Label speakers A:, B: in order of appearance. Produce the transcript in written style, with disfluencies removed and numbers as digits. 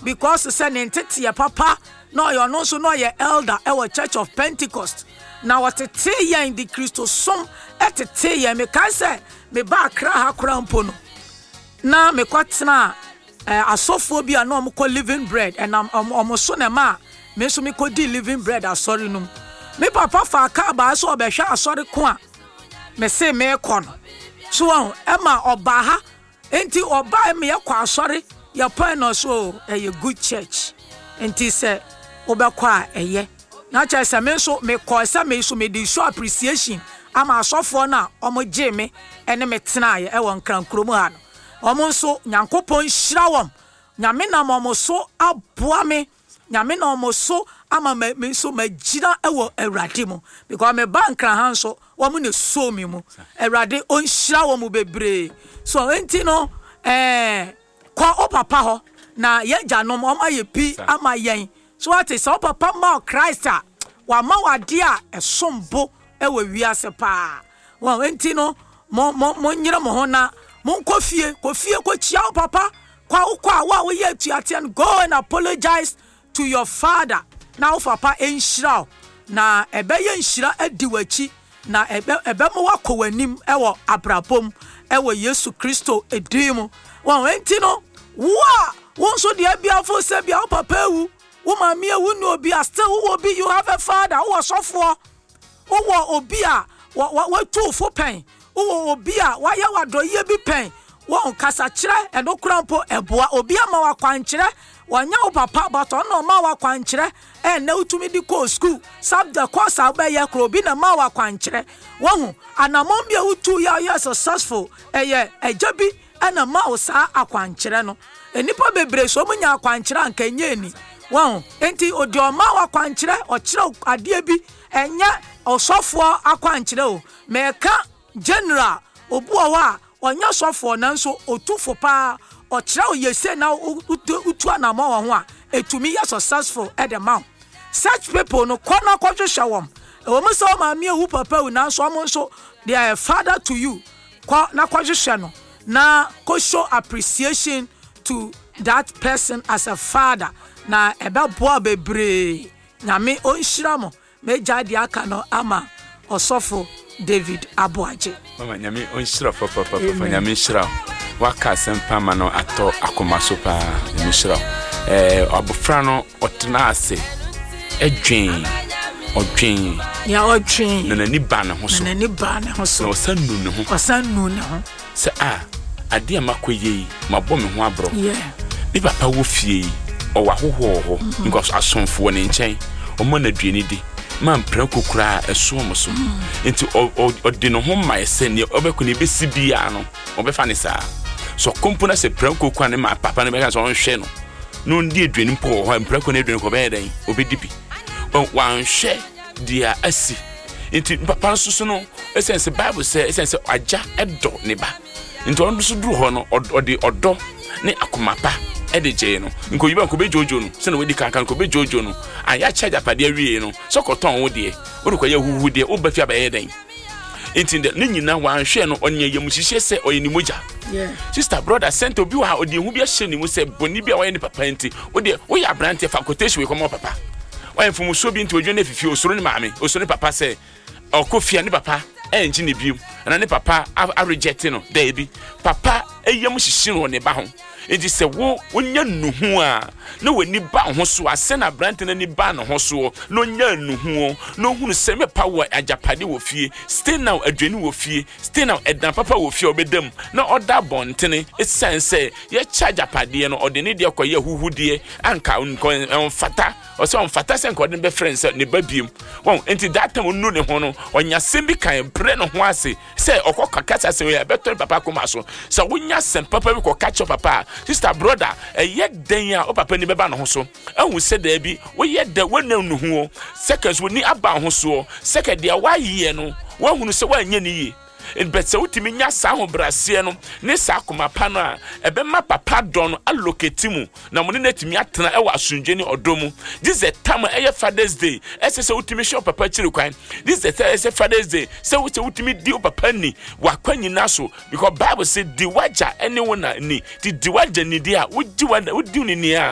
A: Because sɛ ne nteteɛ papa na ɔyɛ, ɔno nso na ɔyɛ elder ɛwɔ Church of Pentecost, na ɔtetee yɛn de Kristosom tetee yɛn. Mekae sɛ meba Accra ha koraa mpo no, na mekɔtena asɔfoɔ bi a na wɔkɔ Living Bread, ɛnam wɔn so na ɛma me nso mekɔdi Living Bread asɔre no mu. Me papa faa kaa baa sɛ ɔbɛhwɛ asɔre ko a mese meekɔ no so wɔn, ɛma ɔbaa ha. Nti ɔbaa ma yɛkɔ asɔre, yɛpɔn no so o, ɛyɛ good church, nti sɛ wobɛkɔ a ɛyɛ. Na kyerɛ sɛ me nso mekɔɔ sɛ me nso mede show appreciation ama asɔfoɔ no a wɔn gyee me ne me tenaeɛ ɛwɔ Nkran kurom ha no. Wɔn nso Nyankopɔn nhyira wɔn. Nyame nam wɔn so aboa me. Nyame nam wɔn so ama me nso magyina wɔ Awurade mu. Because me ba Nkran ha nso, wɔn na ɛsoo me mu. Awurade ɔnhyira wɔn bebree. So enti no, kɔ wo papa hɔ na yɛn agyanom wɔn ayɛ bi ama yɛn. So wate, sɛ wo papa ma wo Christ a, wama wo adeɛ a ɛsom bo wɔ wiase paa. Wɔn enti no, mo mo monyere mo ho na monkɔ fie, kɔ fie kɔkyia wo papa. Kɔ a wokɔ a, wo a woyɛ atuateɛ no, go and apologize to your father, na wo papa nhyira wo, na ɛbɛyɛ nhyira adi w'akyi, na ɛbɛ ɛbɛma woakɔ w'anim wɔ abrabɔ mu wɔ Yesu Kristo din mu. Wɔn enti no, wo a wo nso deɛ biafo sɛ bia wo papa awu, wo maame awu ne obi a, still wowɔ bi, you have a father, wowɔ sɔfoɔ. Wowɔ obi a watu wo fo pɛn? Wowɔ obi a wayɛ wo adɔyɛ bi pɛn? Wɔn kasakyerɛ, ɛno koraa mpo ɛboa. Obi ama wo akwankyerɛ, wɔnyɛ wo papa but ɔno na ɔma wo akwankyerɛ. Ɛnnɛ wotumi de kɔɔ school, subject course a wobɛyɛ koraa obi na ɛma wo akwankyerɛ. Wahu, anammɔn bi a wotu yɛ a woyɛ successful, ɛyɛ agya bi na ɛma wo saa akwankyerɛ no. Nnipa bebree sɛ wɔn nya akwankyerɛ a anka ɛnyɛ ani. Wahu, enti deɛ ɔma wo akwankyerɛ, ɔkyerɛ wo adeɛ bi. Ɛnyɛ ɔsɔfoɔ akwankyerɛ o, meka general, obi wɔ hɔ a ɔnyɛ sɔfoɔ nanso ɔtu fo paa, ɔkyerɛ wo yɛ sei na wotu anamɔ wɔ ho a, ɛtumi yɛ successful de ma wo. Such people no, kɔ na kɔhwehwɛ wɔn. Ɛwɔ mu sɛ wo maame awu, papa awu, nanso wɔn nso they are a father to you. Kɔ na kɔhwehwɛ no na kɔ show appreciation to that person as a father, na ɛbɛboa bebree. Nyame ɔnhyira mo. Mɛgyae deɛ aka no ama Ɔsɔfo David Aboagye.
B: Mama Nyame ɔnhyira wo papapapa. Nyame nhyira wo. Waka asɛm pa ma no atɔ akoma so paa. Nyame nhyira wo. Ɛɛ abofra no ɔtena ase ɛdwen ɔdwen.
A: Nea ɔdwen.
B: Na n'ani ba ne ho so.
A: Na n'ani ba ne ho so.
B: Na ɔsan nu ne ho.
A: Ɔsan nu ne ho.
B: Sɛ a, adeɛ a makɔ yɛ yi, mabɔ me ho aborɔ. Me papa wɔ fie yi, ɔwɔ ahohoɔ wɔ hɔ, mm-hmm. because asomfo wɔ ne nkyɛn, ɔma no aduane di, ma mprako koraa ɛso wɔn so. Nti ɔde ne ho ma sɛ nea ɔbɛkɔ ne ebesi biara no, ɔbɛfa ne saa. So ɔkɔ mpo na sɛ prako kora ne ma papa no bɛka sɛ ɔnhwɛ no, na ɔndi aduane mpo wɔ hɔ a, mprako no aduane kɔ ɔbɛyɛ dɛn? Ɔbɛdi bi. Wanhwɛ deɛ asi. Nti papa nso so no, ɛsiane sɛ Bible sɛ, ɛsiane sɛ agya dɔ ne ba, nti ɔno nso duru hɔ no, ɔde ɔdɔ ne akoma pa ɛde gyee no. Nkoyi ba nkobe dwoodwoo no, sɛnea wadi kankan nkobe dwoodwoo no. A yɛakyɛ agyapadeɛ awie no, sɛ ɔkɔtɔn wo deɛ, wode kɔyɛ huhu deɛ, woba fie abɛyɛ dɛn? Nti dɛ ne nyinaa wanhwɛ no, ɔnyɛ yamuhyehyeɛ sɛ ɔyɛ ne mogya. Sister, brother, sɛnta obi wɔ ha, ɔde ehu bi ahyɛ ne mu sɛ bɔne bi a wayɛ ne papa nti, wodeɛ woyɛ aberanteɛ fa quotation wei kɔma papa. Wayɛ mfomsoɔ bi nti odwane afifi, osuro ne maame, osuro ne papa sɛ ɔkɔ fie a ne papa ɛngye ne biom, anaa ne papa areject no. Daabi, papa yam hyehye no wɔ ne ba ho. Nti sɛ wo wonya nnuhu a na w'ani ba wo ho so a, sɛ na aberante no ani ba ne ho soɔ na ɔnya nnuhu na ɔhunu sɛ mepa wɔ agyapade wɔ fie, stay now aduane wɔ fie, stay now ɛdan papa wɔ fie a ɔbɛda mu na ɔda abɔntene, ɛsiane sɛ yɛkyɛ agyapadeɛ no ɔde ne deɛ kɔyɛ ahuhudeɛ anka ɔmfata, ɔsɛ ɔmfata sɛ nka ɔde no bɛfrɛ no sɛ ne ba biem. Wɔn nti that time ɔnu ne ho no ɔnya asɛm bi kan brɛ ne ho ase sɛ ɔkɔ kaka sɛ asɛm yɛ ɛbɛtɔ ne papa koma so. Sɛ wonya asɛm papa bi kɔka kyerɛ papa a, sister, brother, ɛyɛ dɛn a wo papa ni bɛba ne ho so ahu sɛ daabi woyɛ dɛ woanya nnuhu o, second so w'ani aba ho soɔ, second deɛ woayɛ no woahunu sɛ woanyɛ ne yie. But sɛ wotumi nya saa ahobrɛaseɛ no ne saa akoma pa no a, ɛbɛma papa dɔ no aloketi mu na mo ne no atumi atena ɛwɔ asomdwe ne ɔdɔ mu. This is the time a ɛyɛ Father's Day, ɛsɛ sɛ wotumi hwɛ wo papa akyiri kwan. This is the time ɛsɛ Father's Day sɛ wo sɛ wotumi di wo papa ni w'akwa nyinaa so, because Bible sɛ di w'agya ne wo na ni. Ti di w'agya ni deɛ a wodi w'agya wodi ne ni a.